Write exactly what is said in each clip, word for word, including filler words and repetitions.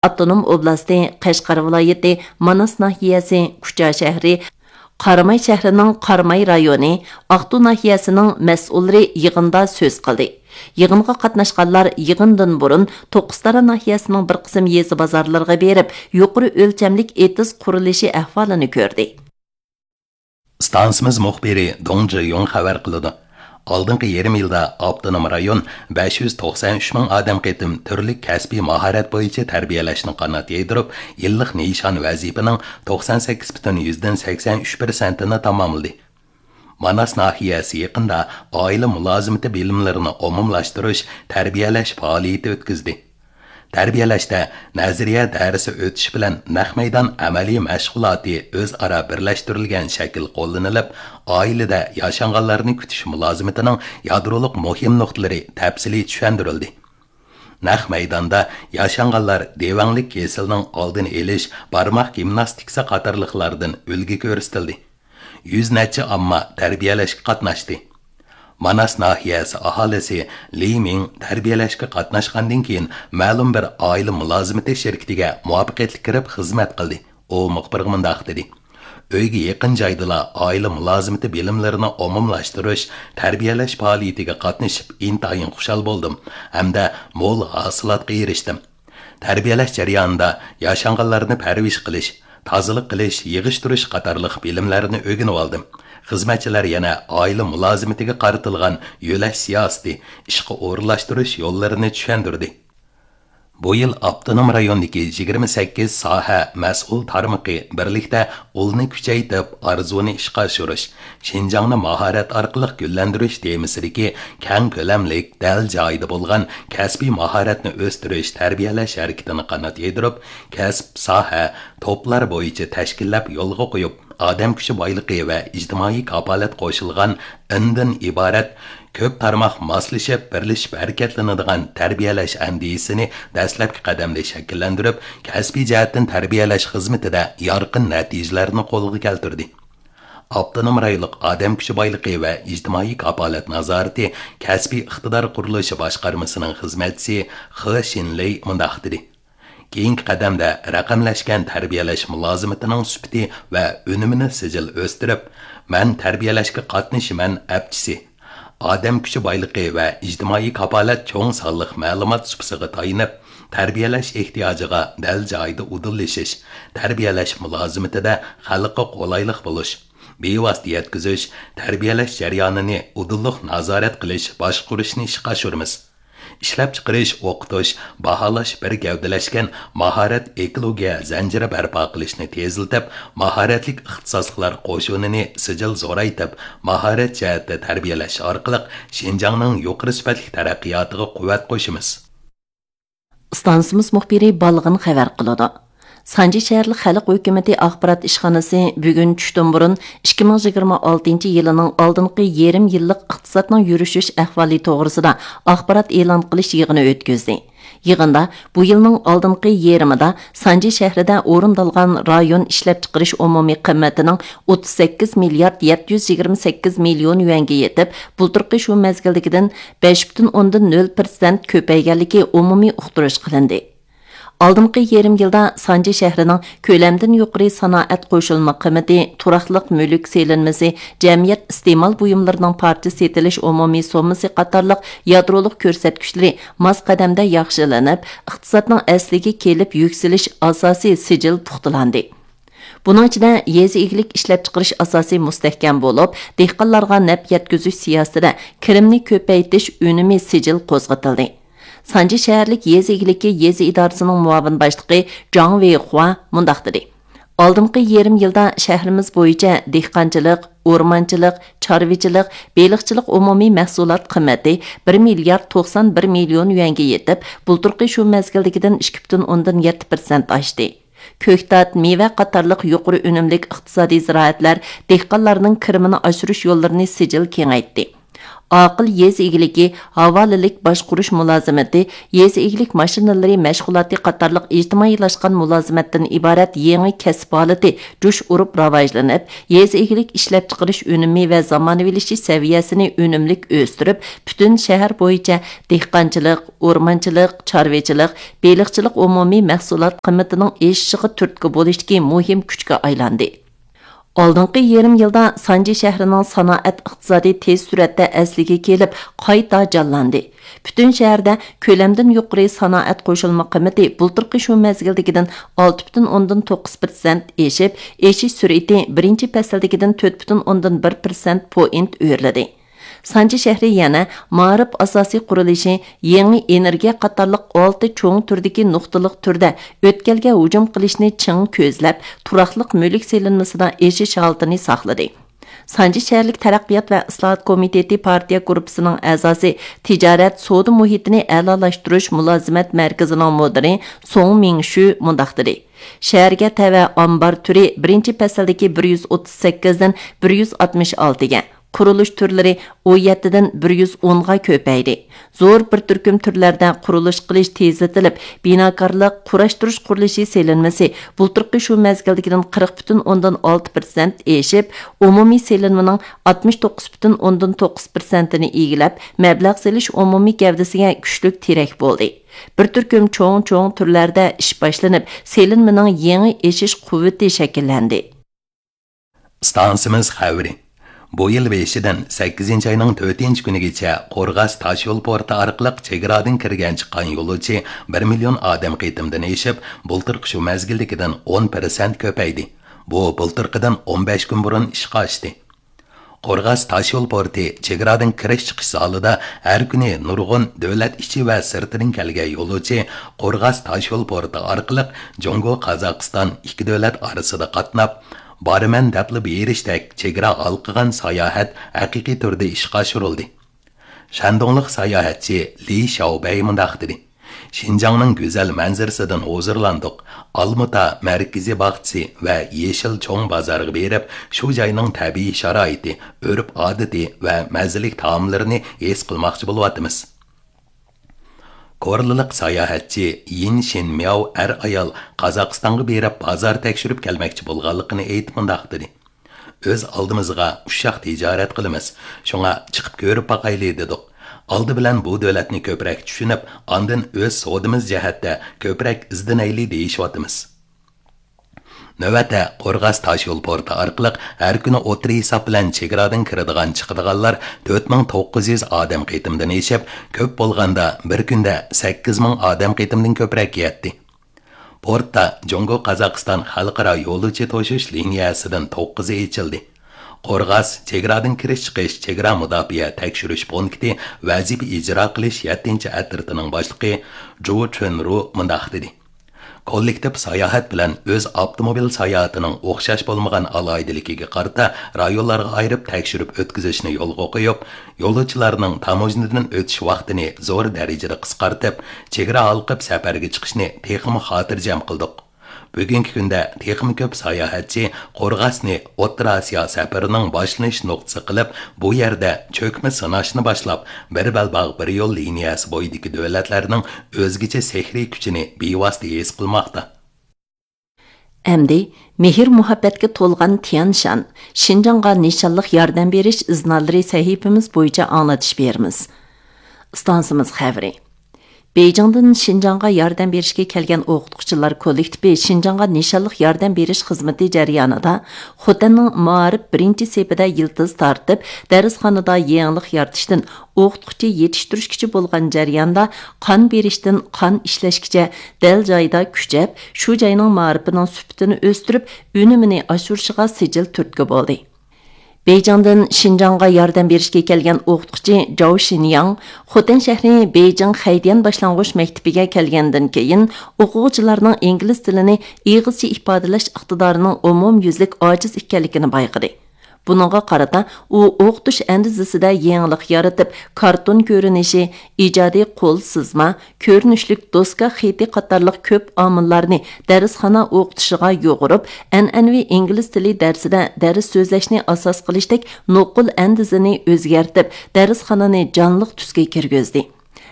ئاپتونوم ئوبلاستى، قەشقەر ۋىلايىتى، ماناس ناھىيەسى، كۇچا شەھىرى، قاراماي شەھىرىنىڭ قاراماي رايونى، ئاقتۇ ناھىيەسىنىڭ مەسئۇللىرى يىغىندا سۆز قىلدى. يىغىنغا قاتناشقانلار يىغىندىن بۇرۇن توققۇزتارا ناھىيەسىنىڭ بىر قىسىم يېزا بازارلىرىغا بېرىپ، يۇقىرى ئۆلچەملىك ئېتىز قۇرۇلۇشى ئەھۋالىنى كۆردى. ئىستانسىمىز مۇخبىرى دۇڭ جىيۇڭ خەۋەر قىلىدۇ. ئالدىنقى يېرىم يىلدا ئاپتونوم رايون بەش يۈز توقسان ئۈچ مىڭ ئادەم قېتىم تۈرلۈك كەسپىي ماھارەت بويىچە تەربىيەلەشنى قانات يايدۇرۇپ، يىللىق نىشان ۋەزىپىنىڭ توقسان سەككىز پۈتۈن يۈزدىن سەكسەن ئۈچ پىرسەنتىنى تاماملىدى. ماناس ناھىيەسى يېقىندا ئائىلە مۇلازىمىتى بىلىملىرىنى ئومۇملاشتۇرۇش، تەربىيەلەش پائالىيىتى ئۆتكۈزدى. تەربىيەلەشتە نەزەرىيە دەرسى ئۆتۈش بىلەن نەق مەيدان ئەمەلىي مەشغۇلاتى ئۆزئارا بىرلەشتۈرۈلگەن شەكىل قوللىنىلىپ، ئائىلىدە ياشانغانلارنى كۈتۈش مۇلازىمىتىنىڭ يادرولۇق مۇھىم نۇقتىلىرى تەپسىلىي چۈشەندۈرۈلدى. نەق مەيداندا ياشانغانلار دېۋەڭلىك كېسىلىنىڭ ئالدىنى ئېلىش، بارماق گىمناستىكىسى قاتارلىقلاردىن ئۈلگە كۆرسىتىلدى. يۈز نەچچە ئامما تەربىيەلەشكە قاتناشتى. ماناس ناھىيەسى ئاھالىسى لى مىڭ تەربىيەلەشكە قاتناشقاندىن كېيىن، مەلۇم بىر ئائىلە مۇلازىمىتى شىركىتىگە مۇۋەپپەقىيەتلىك كىرىپ خىزمەت قىلدى. ئۇ مۇخبىرغا مۇنداق دېدى: ئۆيگە يېقىن جايدىلا ئائىلە مۇلازىمىتى بىلىملىرىنى ئومۇملاشتۇرۇش، تەربىيەلەش پائالىيىتىگە قاتنىشىپ ئىنتايىن خۇشال بولدۇم ھەمدە مول ھاسىلاتقا ئېرىشتىم. تەربىيەلەش جەريانىدا ياشانغانلارنى پەرۋىش قىلىش، تازىلىق قىلىش، يىغىشتۇرۇش قاتارلىق بىلىملەرنى ئۆگىنىۋالدىم. خىزمەتچىلەر يەنە ئائىلە مۇلازىمىتىگە قارىتىلغان يۆلەش سىياسىتى، ئىشقا ئورۇنلاشتۇرۇش يوللىرىنى چۈشەندۈردى. بۇ يىل ئاپتونوم رايوندىكى يىگىرمە سەككىز ساھە مەسئۇل تارمىقى بىرلىكتە ئۇلنى كۈچەيتىپ، ئارزۇنى ئىشقا ئاشۇرۇش، شىنجاڭنى ماھارەت ئارقىلىق گۈللەندۈرۈش تېمىسىدىكى كەڭ كۆلەملىك، دەل جايىدا بولغان كەسپىي ماھارەتنى ئۆستۈرۈش، تەربىيەلەش ھەرىكىتىنى قانات يايدۇرۇپ، كەسىپ، ساھە، توپلار بويىچە تەشكىللەپ يولغا قويۇپ، ئادەم كۈچى بايلىقى ۋە ئىجتىمائىي كاپالەت قوشۇلغان ئىندىن ئىبارەت كۆپ تارماق ماسلىشىپ، بىرلىشىپ ھەرىكەتلىنىدىغان تەربىيەلەش ئەندىزىسىنى دەسلەپكى قەدەمدە شەكىللەندۈرۈپ، كەسپىي جەھەتتىن تەربىيەلەش خىزمىتىدە يارقىن نەتىجىلەرنى قولغا كەلتۈردى. ئاپتونوم رايونلۇق ئادەم كۈچى بايلىقى ۋە ئىجتىمائىي كاپالەت نازارىتى كەسپىي ئىقتىدار قۇرۇلۇشى باشقارمىسىنىڭ خىزمەتچىسى خې شىنلېي مۇنداق دېدى: كېيىنكى قەدەمدە رەقەملەشكەن تەربىيەلەش مۇلازىمىتىنىڭ سۈپىتى ۋە ئۈنۈمىنى سىجىل ئۆستۈرۈپ، مەن تەربىيەلەشكە قاتنىشىمەن ئەپچىسى، ئادەم كۈچى بايلىقى ۋە ئىجتىمائىي كاپالەت چوڭ سانلىق مەلۇمات سۇپىسىغا تايىنىپ، تەربىيەلەش ئېھتىياجىغا دەل جايىدا ئۇدۇللىشىش، تەربىيەلەش مۇلازىمىتىدە خەلققە قولايلىق بولۇش، بىۋاسىتە يەتكۈزۈش، تەربىيەلەش جەريانىنى ئۇدۇللۇق نازارەت قىلىش، باشقۇرۇشنى ئىشقا ئاشۇرىمىز. ئىشلەپچىقىرىش، ئوقۇتۇش، باھالاش بىر گەۋدىلەشكەن ماھارەت ئېكولوگىيە زەنجىرى بەرپا قىلىشنى تېزلىتىپ، ماھارەتلىك ئىختىساسلىقلار قوشۇنىنى سىجىل زورايتىپ، ماھارەت جەھەتتە تەربىيەلەش ئارقىلىق شىنجاڭنىڭ يۇقىرى سۈپەتلىك تەرەققىياتىغا قۇۋۋەت قوشىمىز. ئىستانسىمىز مۇخبىرى بالغىن خەۋەر قىلىدۇ. سانجى شەھەرلىك خەلق ھۆكۈمىتى ئاخبارات ئىشخانىسى بۈگۈن چۈشتىن بۇرۇن ئىككى مىڭ يىگىرمە ئالتىنچى يىلىنىڭ ئالدىنقى يېرىم يىللىق ئىقتىسادنىڭ يۈرۈشۈش ئەھۋالى توغرىسىدا ئاخبارات ئېلان قىلىش يىغىنى ئۆتكۈزدى. يىغىندا بۇ يىلنىڭ ئالدىنقى يېرىمىدا سانجى شەھىرىدە ئورۇندالغان رايون ئىشلەپچىقىرىش ئومۇمىي قىممىتىنىڭ ئوتتۇز سەككىز مىليارد يەتتە يۈز يىگىرمە سەككىز مىليون يۈەنگە يېتىپ، بۇلتۇرقى شۇ مەزگىلدىكىدىن بەش پۈتۈن ئوندىن نۆل پىرسەنت كۆپەيگەنلىكى ئومۇمىي ئۇقتۇرۇش قىلىندى. ئالدىنقى يېرىم يىلدا سانجى شەھىرىنىڭ كۆلەمدىن يۇقىرى سانائەت قوشۇلما قىممىتى، تۇراقلىق مۈلۈك سېلىنمىسى، جەمئىيەت ئىستېمال بۇيۇملىرىنىڭ پارچە سېتىلىش ئومۇمىي سوممىسى قاتارلىق يادرولۇق كۆرسەتكۈچلىرى ماس قەدەمدە ياخشىلىنىپ، ئىقتىسادنىڭ ئەسلىگە كېلىپ يۈكسىلىش ئاساسى سىجىل پۇختىلاندى. بۇنىڭ ئىچىدە يېزا ئىگىلىك ئىشلەپچىقىرىش ئاساسى مۇستەھكەم بولۇپ، دېھقانلارغا نەپ يەتكۈزۈش سىياسىتىدە كىرىمنى كۆپەيتىش ئۈنۈمى سىجىل قوزغىتىلدى. سانجى شەھەرلىك يېزا ئىگىلىكى يېزا ئىدارىسىنىڭ مۇئاۋىن باشلىقى جاڭ ۋېيخۇا مۇنداق دېدى: ئالدىنقى يېرىم يىلدا شەھىرىمىز بويىچە دېھقانچىلىق، ئورمانچىلىق، چارۋىچىلىق، بېلىقچىلىق ئومۇمىي مەھسۇلات قىممىتى بىر مىليارد توقسان بىر مىليون يۈەنگە يېتىپ، بۇلتۇرقى شۇ مەزگىلدىكىدىن ئىككى پۈتۈن ئوندىن يەتتە پىرسەنت ئاشتى. كۆكتات، مېۋە قاتارلىق يۇقىرى ئۈنۈملۈك ئىقتىسادىي زىرائەتلەر دېھقانلارنىڭ كىرىمىنى ئاشۇرۇش يوللىرىنى سىجىل كېڭەيتتى. ئاقىل يېزا ئىگىلىكى، ھاۋالىلىك باشقۇرۇش مۇلازىمىتى، يېزا ئىگىلىك ماشىنىلىرى مەشغۇلاتى قاتارلىق ئىجتىمائىيلاشقان مۇلازىمەتتىن ئىبارەت يېڭى كەسىپ ھالىتى جۇش ئۇرۇپ راۋاجلىنىپ، يېزا ئىگىلىك ئىشلەپچىقىرىش ئۈنۈمى ۋە زامانىۋىلىشىش سەۋىيەسىنى ئۈنۈملۈك ئۆستۈرۈپ، پۈتۈن شەھەر بويىچە دېھقانچىلىق، ئورمانچىلىق، چارۋىچىلىق، بېلىقچىلىق ئومۇمىي مەھسۇلات قىممىتىنىڭ ئېشىشىغا تۈرتكە بولۇشتىكى مۇھىم كۈچكە ئايلاندى. ئالدىنقى يېرىم يىلدا سانجى شەھىرىنىڭ سانائەت ئىقتىسادى تېز سۈرئەتتە ئەسلىگە كېلىپ، قايتا جانلاندى. پۈتۈن شەھەردە كۆلەمدىن يۇقىرى سانائەت قوشۇلما قىممىتى بۇلتۇرقى شۇ مەزگىلدىكىدىن ئالتە پۈتۈن ئوندىن توققۇز پىرسەنت ئېشىپ، ئېشىش سۈرئىتى بىرىنچى پەسىلدىكىدىن تۆت پۈتۈن ئوندىن بىر پىرسەنت پوينت ئۆرلىدى. سانجى شەھىرى يەنە مائارىپ ئاساسىي قۇرۇلۇشى، يېڭى ئېنېرگىيە قاتارلىق ئالتە چوڭ تۈردىكى نۇقتىلىق تۈردە ئۆتكەلگە ھۇجۇم قىلىشنى چىڭ كۆزلەپ، تۇراقلىق مۈلۈك سېلىنمىسىدا ئېشىش ھالىتىنى ساقلىدى. سانجى شەھەرلىك تەرەققىيات ۋە ئىسلاھات كومىتېتى پارتىيە گۇرۇپپىسىنىڭ ئەزاسى، تىجارەت، سودا مۇھىتىنى ئەلالاشتۇرۇش مۇلازىمەت مەركىزىنىڭ مۇدىرى سوڭ مىڭشۈ مۇنداق دېدى: شەھەرگە تەۋە ئامبار تۈرى بىرىنچى پەسىلدىكى بىر يۈز ئوتتۇز سەككىزدىن بىر يۈز ئاتمىش ئالتىگە، قۇرۇلۇش تۈرلىرى ئون يەتتىدىن بىر يۈز ئونغا كۆپەيدى. زور بىر تۈركۈم تۈرلەردە قۇرۇلۇش قىلىش تېزلىتىلىپ، بىناكارلىق، قۇراشتۇرۇش قۇرۇلۇشى سېلىنمىسى بۇلتۇرقى شۇ مەزگىلدىكىدىن قىرىق پۈتۈن ئوندىن ئالتە پىرسەنت ئېشىپ، ئومۇمىي سېلىنمىنىڭ ئاتمىش توققۇز پۈتۈن ئوندىن توققۇز پىرسەنتىنى ئىگىلەپ، مەبلەغ سېلىش ئومۇمىي گەۋدىسىگە كۈچلۈك تىرەك بولدى. بىر تۈركۈم چوڭ-چوڭ تۈرلەردە ئىش باشلىنىپ، سېلىنمىنىڭ يېڭى ئېشىش قۇۋۋىتى شەكىللەندى. ئىستانسىمىز خەۋىرى. بۇ يىل بېشىدىن سەككىزىنچى ئاينىڭ تۆتىنچى كۈنىگىچە قورغاس تاشيول پورتى ئارقىلىق چېگرادىن كىرگەن چىققان يولۇچى بىر مىليون ئادەم قېتىمدىن ئېشىپ، بۇلتۇرقى شۇ مەزگىلدىكىدىن ئون پىرسەنت كۆپەيدى. بۇ بۇلتۇرقىدىن ئون بەش كۈن بۇرۇن ئىشقا ئاشتى. قورغاس تاشيول پورتى چېگرادىن كىرىش چىقىش زالىدا ھەر كۈنى نۇرغۇن دۆلەت ئىچى ۋە سىرتىدىن كەلگەن يولۇچى قورغاس تاشيول پورتى ئارقىلىق جۇڭگو، قازاقىستان ئىككى دۆلەت ئارىسىدا قاتناپ، بارىمەن دەپلا بېرىشتەك چېگرا ھالقىغان ساياھەت ھەقىقىي تۈردە ئىشقا ئاشۇرۇلدى. شەندۇڭلۇق ساياھەتچى لى شياۋبەي مۇنداق دېدى: شىنجاڭنىڭ گۈزەل مەنزىرىسىدىن ھۇزۇرلاندۇق. ئالمۇتا مەركىزىي باغچىسى ۋە يېشىل چوڭ بازارغا بېرىپ، شۇ جاينىڭ تەبىئىي شارائىتى، ئۆرپ-ئادىتى ۋە مەززىلىك تائاملىرىنى ھېس قىلماقچى بولۇۋاتىمىز. كورلىلىق ساياھەتچى يىن شىنمياۋ ئەر-ئايال قازاقىستانغا بېرىپ بازار تەكشۈرۈپ كەلمەكچى بولغانلىقىنى ئېيتىپ مۇنداق دېدى: ئۆز ئالدىمىزغا ئۇششاق تىجارەت قىلىمىز، شۇڭا چىقىپ كۆرۈپ باقايلى دېدۇق. ئالدى بىلەن بۇ دۆلەتنى كۆپرەك چۈشىنىپ، ئاندىن ئۆز سودىمىز جەھەتتە كۆپرەك ئىزدىنەيلى دېيىشىۋاتىمىز. نۆۋەتتە قورغاس تاشيول پورتى ئارقىلىق ھەر كۈنى ئوتتۇرا ھېساب بىلەن چېگرادىن كىرىدىغان، چىقىدىغانلار تۆت مىڭ توققۇز يۈز ئادەم قېتىمدىن ئېشىپ، كۆپ بولغاندا بىر كۈندە سەككىز مىڭ ئادەم قېتىمدىن كۆپرەك يەتتى. پورتتا جۇڭگو، قازاقىستان خەلقئارا يولۇچى توشۇش لىنىيەسىدىن توققۇزى ئېچىلدى. قورغاس چېگرادىن كىرىش چىقىش چېگرا مۇداپىئە تەكشۈرۈش پونكىتى ۋەزىپە ئىجرا قىلىش يەتتىنچى ئەترىتىنىڭ باشلىقى جۇ چۈنرۇ مۇنداق دېدى: كوللېكتىپ ساياھەت بىلەن ئۆز ئاپتوموبىل ساياھىتىنىڭ ئوخشاش بولمىغان ئالاھىدىلىكىگە قارىتا رايونلارغا ئايرىپ تەكشۈرۈپ ئۆتكۈزۈشنى يولغا قويۇپ، يولۇچىلارنىڭ تاموژنىدىن ئۆتۈش ۋاقتىنى زور دەرىجىدە قىسقارتىپ، چېگرا ھالقىپ سەپەرگە چىقىشنى تېخىمۇ خاتىرجەم قىلدۇق. بۈگۈنكى كۈندە تېخىمۇ كۆپ ساياھەتچى قورغاسنى ئوتتۇرا ئاسىيا سەپىرىنىڭ باشلىنىش نۇقتىسى قىلىپ، بۇ يەردە چۆكمە سىناشنى باشلاپ، بىر بەلباغ، بىر يول لىنىيەسى بويىدىكى دۆلەتلەرنىڭ ئۆزگىچە سېھرىي كۈچىنى بىۋاسىتە ھېس قىلماقتا. ئەمدى مېھىر-مۇھەببەتكە تولغان تيەنشان، شىنجاڭغا نىشانلىق ياردەم بېرىش ئىزنالىرى سەھىپىمىز بويىچە ئاڭلىتىش بېرىمىز. ئىستانسىمىز خەۋىرى. بېيجىڭدىن شىنجاڭغا ياردەم بېرىشكە كەلگەن ئوقۇتقۇچىلار كوللېكتىپى شىنجاڭغا نىشانلىق ياردەم بېرىش خىزمىتى جەريانىدا خوتەننىڭ مائارىپ بىرىنچى سېپىدە يىلتىز تارتىپ، دەرسخانىدا يېڭىلىق يارىتىشتىن ئوقۇتقۇچى يېتىشتۈرۈشكىچە بولغان جەرياندا قان بېرىشتىن قان ئىشلەشكىچە دەل جايىدا كۈچەپ، شۇ جاينىڭ مائارىپىنىڭ سۈپىتىنى ئۆستۈرۈپ، ئۈنۈمىنى ئاشۇرۇشىغا سىجىل تۈرتكە بولدى. بېيجىڭدىن شىنجاڭغا ياردەم بېرىشكە كەلگەن ئوقۇتقۇچى جاۋ شىنياڭ خوتەن شەھىرى بېيجىڭ خەيدىيەن باشلانغۇچ مەكتىپىگە كەلگەندىن كېيىن، ئوقۇغۇچىلارنىڭ ئىنگلىز تىلىنى ئېغىزچە ئىپادىلەش ئىقتىدارىنىڭ ئومۇميۈزلۈك ئاجىز ئىكەنلىكىنى بايقىدى. بۇنىڭغا قارىتا، ئۇ ئوقۇتۇش ئەندىزىسىدە يېڭىلىق يارىتىپ، كارتون كۆرۈنۈشى، ئىجادىي قول سىزما، كۆرۈنۈشلۈك دوسكا خېتى قاتارلىق كۆپ ئامىللارنى دەرسخانا ئوقۇتۇشىغا يۇغۇرۇپ، ئەنئەنىۋى ئىنگلىز تىلى دەرسىدە دەرس سۆزلەشنى ئاساس قىلىشتەك نوقۇل ئەندىزىنى ئۆزگەرتىپ، دەرسخانىنى جانلىق تۈسكە كىرگۈزدى.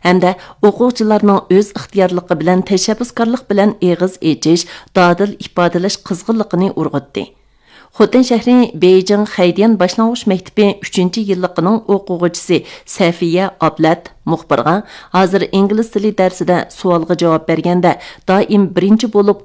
ھەمدە ئوقۇغۇچىلارنىڭ ئۆز ئىختىيارلىقى بىلەن تەشەببۇسكارلىق بىلەن ئېغىز ئېچىش، دادىل ئىپادىلەش قىزغىنلىقىنى ئۇرغۇتتى. خوتەن شەھىرى بېيجىڭ خەيدىيەن باشلانغۇچ مەكتىپى ئۈچىنچى يىللىقىنىڭ ئوقۇغۇچىسى سەفىيە ئابلەت مۇخبىرغا، ھازىر ئىنگلىز تىلى دەرسىدە سوئالغا جاۋاب بەرگەندە دائىم بىرىنچى بولۇپ